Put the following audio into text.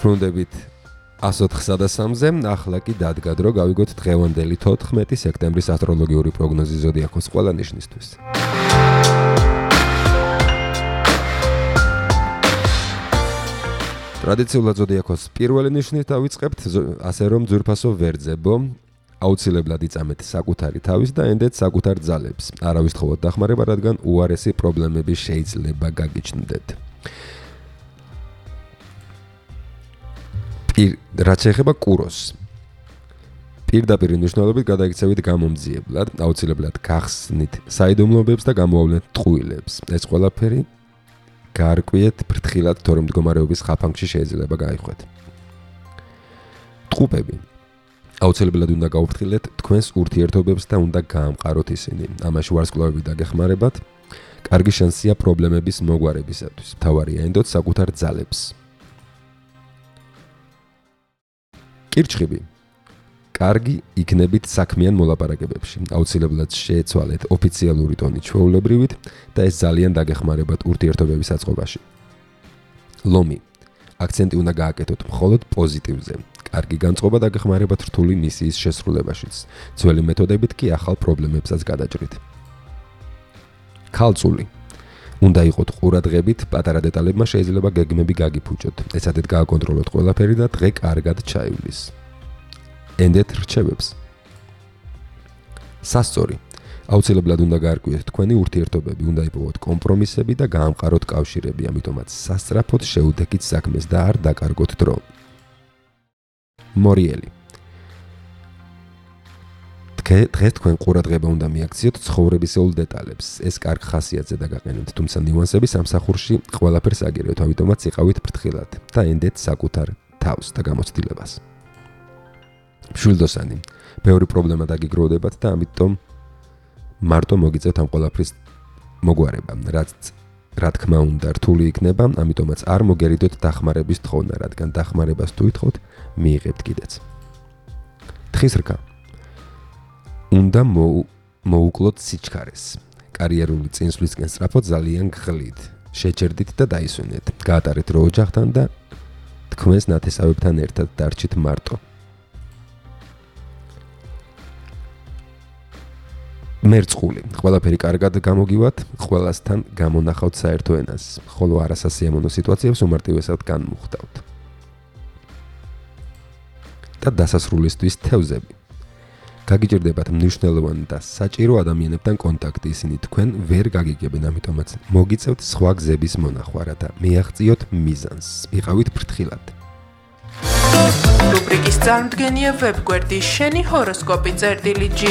დაბრუნდებით 103-ზე, ახლა კი დადგა დრო გავიგოთ დღევანდელი 14 სექტემბრის ასტროლოგიური პროგნოზი ზოდიაქოს ყველა ნიშნისთვის. ტრადიციულად ზოდიაქოს პირველი ნიშნით დავიწყებთ, ასე რომ ძვირფასო ვერძებო, აუცილებლად იწამეთ საკუთარი თავის და ენდეთ საკუთარ ძალებს. არავის თხოვოთ დახმარება, რადგან უარესი პრობლემები შეიძლება გაგიჩნდეთ. რაც შეეხება კუროს. პირდაპირ მნიშვნელობით გადაიქცევით გამომძიებლად, აუცილებლად გახსნით საიდუმლოებებს და გამოავლენთ ტყუილებს. ეს ყველაფერი გაარკვიეთ ფრთხილად, თორემ მდგომარეობის ხაფანგში შეიძლება გაიხვეთ. ტყუპები. აუცილებლად უნდა გაუფრთხილეთ თქვენს ურთიერთობებს და უნდა გაამყაროთ ისინი. ამაში ვარსკვლავები დაგეხმარებათ. კარგი შანსია პრობლემების მოგვარებისათვის. მთავარია ენდოთ საკუთარ ძალებს. კირჩხიბი. კარგი იქნებით საქმიან მოლაპარაკებებში. აუცილებლად შეეცვალეთ ოფიციალური ტონით ჩვეულებრივით და ეს ძალიან დაგეხმარებათ ურთიერთობების აწყობაში. ლომი. აქცენტი უნდა გააკეთოთ მხოლოდ პოზიტივზე. კარგი განწყობა დაგეხმარებათ რთული მისიის შესრულებაშიც. ძველი მეთოდებით კი ახალ პრობლემებსაც გადაჭრით. ქალწული. უნდა იყოთ ყურადღებით, პატარა დეტალებმა შეიძლება გეგმები გაგიფუჭოთ. ეცადეთ გააკონტროლოთ ყველაფერი და დღე კარგად ჩაივლის. ენდეთ რჩევებს. სასწორი. აუცილებლად უნდა გაარკვიოთ თქვენი ურთიერთობები, უნდა იპოვოთ კომპრომისები და გაამყაროთ კავშირები, ამიტომაც სასწრაფოდ შეუდექით საქმეს და არ დაკარგოთ დრო. მორიელი. დღეს თქვენ ყურადღება უნდა მიაქციოთ ცხოვრებისეულ დეტალებს. ეს კარგ ხასიათზე დაგაყენებთ, თუმცა ნიუანსები სამსახურში ყველაფერს აგირებთ, ამიტომაც იყავით ფრთხილად და ენდეთ საკუთარ თავს და გამოცდილებას. მშვილდოსანი. ბევრი პრობლემა დაგიგროვდებათ და ამიტომ მარტო მოგიწევთ ამ ყველაფრის მოგვარება, რა თქმა უნდა რთული იქნება, ამიტომაც არ მოგერიდოთ დახმარების თხოვნა, რადგან დახმარებას თუ ითხოვთ, მიიღებთ კიდეც. თხის რქა. უნდა მოუკლოთ სიჩქარეს. კარიერული წინსვლისკენ სწრაფოდ ძალიან გხლით. შეჭერდით და დაისვენეთ. გაატარეთ დრო ოჯახთან და თქვენს ნათესავებთან ერთად დარჩით მარტო. მერწყული. ყველაფერი კარგად გამოგივათ, ყველასთან გამონახავთ საერთო ენას, ხოლო არასასიამოვნო სიტუაციებს უმარტივესად განმუხტავთ. და დასასრულისთვის თევზები. გაგიჭირდებათ მნიშვნელოვანი და საჭირო ადამიანებთან კონტაქტი, ისინი თქვენ ვერ გაგიგებენ, ამიტომაც მოგიწევთ სხვა გზების მონახვა, რათა მიაღწიოთ მიზანს. იყავით ფრთხილად. რუბრიკის წარმდგენია ვებგვერდი შენი ჰოროსკოპი წერტილი G.